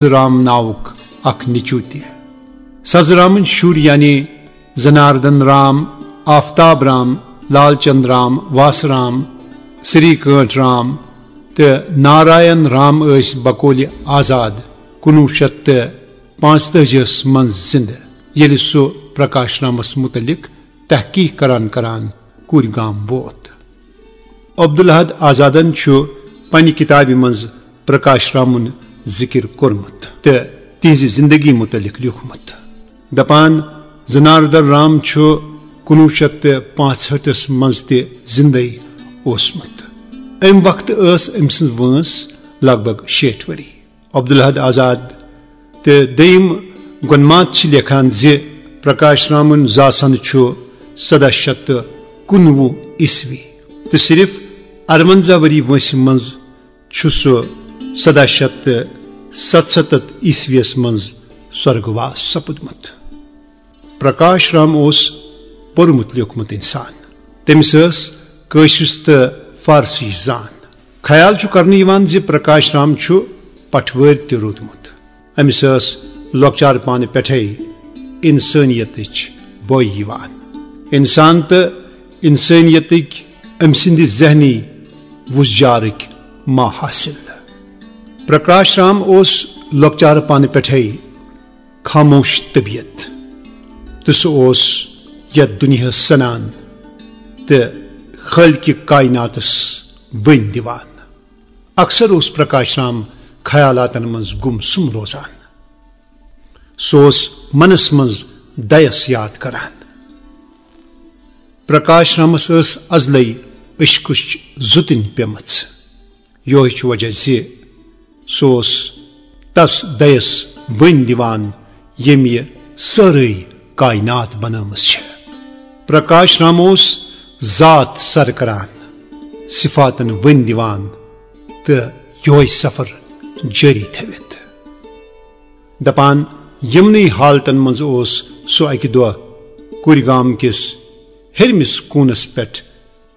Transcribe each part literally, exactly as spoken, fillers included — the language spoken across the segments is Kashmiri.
سزرام ناوُک اکھ نیٚچو تہِ۔ سزرامٕنۍ شُرۍ یعنی زناردن رام، آفتاب رام، لال چند رام، واس رام، سری کانٹھ رام تہٕ ناراین رام ٲسۍ بقولِ آزاد کُنوُہ شیٚتھ تہٕ پانٛژتٲجی ہس منٛز زِندٕ، ییٚلہِ سُہ پرکاش رامس مُتعلق تحقیق کران کران کوٗرِ گام ووت۔ عبدالاحد آزادن چھُ پننہِ کِتابہِ منٛز پرکاش رامُن ذِکِر کوٚرمُت تہٕ تِہنٛزِ زِندگی مُتعلق لیوٗکھمُت۔ دپان، زناردن رام چھُ کُنوُہ شیٚتھ تہٕ پانٛژہٲٹھس منٛز تہِ زِندَے اوسمُت۔ امہِ وقتہٕ ٲس أمۍ سٕنٛز وٲنٛس لگ بگ شیٹھ ؤری۔ عبدالاحد آزاد تہٕ دوٚیِم گۄنماتھ چھِ لیکھان زِ پرکاش رامُن زاسان چھُ سداہ شیٚتھ تہٕ کُنوُہ عیسوی تہٕ صرف ارونزاہ ؤری وٲنٛسہِ منٛز چھُ سُہ سداہ شیٚتھ تہٕ ستستھ عیسویس منٛز سۄرگواس سپُدمُت۔ پرکاش رام اوس پوٚرمُت لیوٗکھمُت انسان۔ تٔمِس ٲس کٲشرِس تہٕ فارسٕچ زان۔ خیال چھُ کرنہٕ یِوان زِ پرکاش رام چھُ پٹھوٲرۍ تہِ روٗدمُت۔ أمِس ٲس لۄکچار پانہٕ پٮ۪ٹھَے انسٲنیتٕچ بوے یِوان۔ انسان تہٕ انسٲنیتٕکۍ أمۍ سٕنٛدِ ذہنی وُژجارٕکۍ ما حاصل۔ پرکاش رام اوس لۄکچار پانہٕ پٮ۪ٹھَے خاموش طبیعت تہٕ سُہ اوس یتھ دُنیاہس سنان تہٕ خالقِ کائناتس بٔنۍ دِوان۔ اکثر اوس پرکاش رام خیالاتن منٛز گُم سُم روزان۔ سُہ اوس منس منٛز دَیس یاد کران۔ پرکاش رامس ٲس ازلے عشقٕچ زُتٕنۍ پیمٕژ۔ یوہے چھُ وجہ زِ سُہ اوس تس دَیس بٔنۍ دِوان، ییٚمۍ یہِ سٲرٕے کائنات بنٲومٕژ چھےٚ۔ پرکاش رام اوس ذات سر کران، صفاتن بٔنۍ دِوان تہٕ یوہے سفر جٲری تھٲوِتھ۔ دپان، یِمنٕے حالتن منٛز اوس سُہ اکہِ دۄہ کوٗرِ گام کِس ہیٚرمِس کوٗنس پٮ۪ٹھ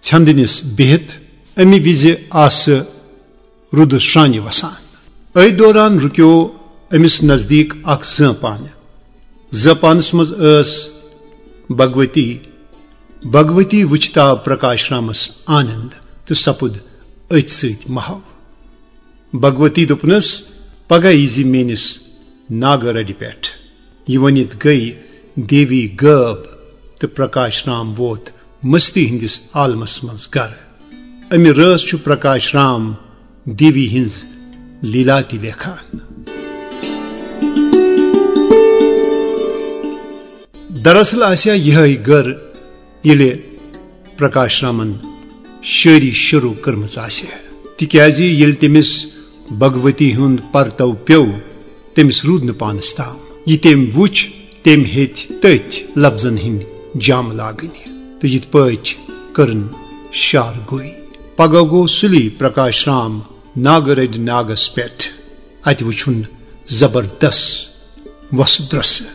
ژھٮ۪ندٕنِس بِہِتھ۔ امہِ وِزِ آسہٕ روٗدٕ شرٛانہِ وسان۔ أتھۍ دوران رُکیو أمِس نزدیٖک اکھ زٲنٛپانہٕ۔ زٲنٛپانس منٛز ٲس بھگؤتی۔ بھگؤتی وٕچھتھ آو پرکاش رامس آنند تہٕ سپُد أتھۍ سۭتۍ محو۔ بھگؤتی دوٚپنس، "پگاہ ییٖزِ میٲنِس ناگہٕ رَڑِ پٮ۪ٹھ۔" یہِ ؤنِتھ گٔیہِ دیوی غٲب تہٕ پرکاش رام ووت مستی ہٕنٛدِس عالمس منٛز گرٕ۔ امہِ رٲژ چھُ پرکاش رام دیوی ہٕنٛز لیلا تہِ لیکھان۔ دراصل آسہِ ہا یِہے گٔر، ییٚلہِ پرکاش رامن شٲعری شروع کٔرمٕژ آسہِ ہا، تِکیازِ ییٚلہِ تٔمِس بھگؤتی ہُنٛد پرتو پیوٚو، تٔمِس روٗد نہٕ پانس تام۔ یہِ تٔمۍ وُچھ، تٔمۍ ہیٚتۍ تٔتھۍ لفظن ہٕنٛدۍ جام لاگٕنۍ تہٕ یِتھ پٲٹھۍ کٔرٕن شعر گویی۔ پگاہ گوٚو سُلی پرکاش رام ناگہٕ رٔڑِ ناگس پٮ۪ٹھ۔ اتہِ وُچھُن زبردست وۄسہٕ درۄسہٕ۔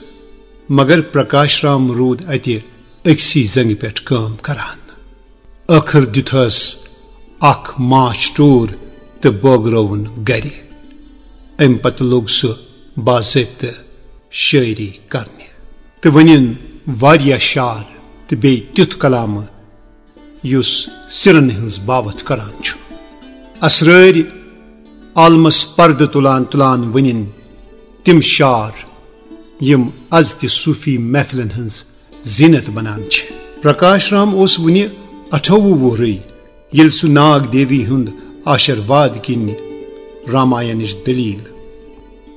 مگر پرکاش رام روٗد اتہِ أکسٕے زنگہِ پٮ۪ٹھ کٲم کران۔ ٲخٕر دیُتہس اکھ ماچھ ٹوٗر تہٕ بٲگرٲوُن گرِ۔ امہِ پتہٕ لوٚگ سُہ باضٲبطہٕ شٲعری کرنہِ تہٕ ؤنِن واریاہ شعر تہٕ بیٚیہِ تیُتھ کلامہٕ یُس سِرن ہٕنٛز باوتھ کران چھُ۔ اسرٲرۍ عالمس پردٕ تُلان تُلان ؤنِن تِم شعر یِم از تہِ صوٗفی محفلن ہٕنٛز زیٖنت بنان چھِ۔ پرکاش رام اوس وُنہِ اَٹھووُہ وُہرٕے ییٚلہِ سُہ ناگ دیوی ہُنٛد آشیرواد کِنۍ راماینٕچ دٔلیٖل۔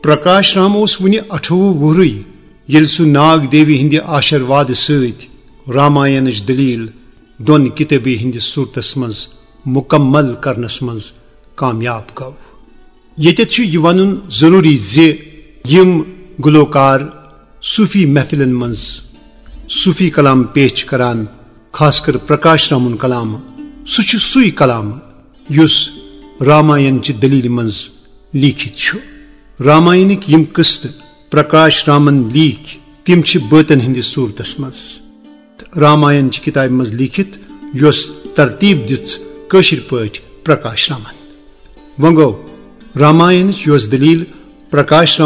پرکاش رام اوس وُنہِ اَٹھووُہ وُہرٕے ییٚلہِ سُہ ناگ دیوی ہٕنٛدِ آشیروادٕ سۭتۍ راماینٕچ دٔلیٖل دۄن کِتٲبی ہٕنٛدِس صوٗرتس منٛز مُکمل کرنس منٛز کامیاب گوٚو۔ ییٚتٮ۪تھ چھُ یہِ ونُن ضروٗری زِ یِم گلوکار صوٗفی محفلن منٛز صوٗفی کلام پیش چھِ کران، خاص کر پرکاش رامُن کلام، سُہ چھُ سُے کلام یُس راماین چہِ دٔلیٖلہِ منٛز لیٖکھِتھ چھُ۔ راماینٕکۍ یِم قٕسطہٕ پرکاش رامن لیٖکھۍ، تِم چھِ بٲتن ہٕنٛدِس صوٗرتس منٛز۔ راماین چہِ کِتابہِ منٛز لیٖکھِتھ، یۄس ترتیٖب دِژ کٲشِر پٲٹھۍ پرکاش رامن۔ وۄنۍ گوٚو، راماینٕچ یۄس دٔلیٖل پرکاش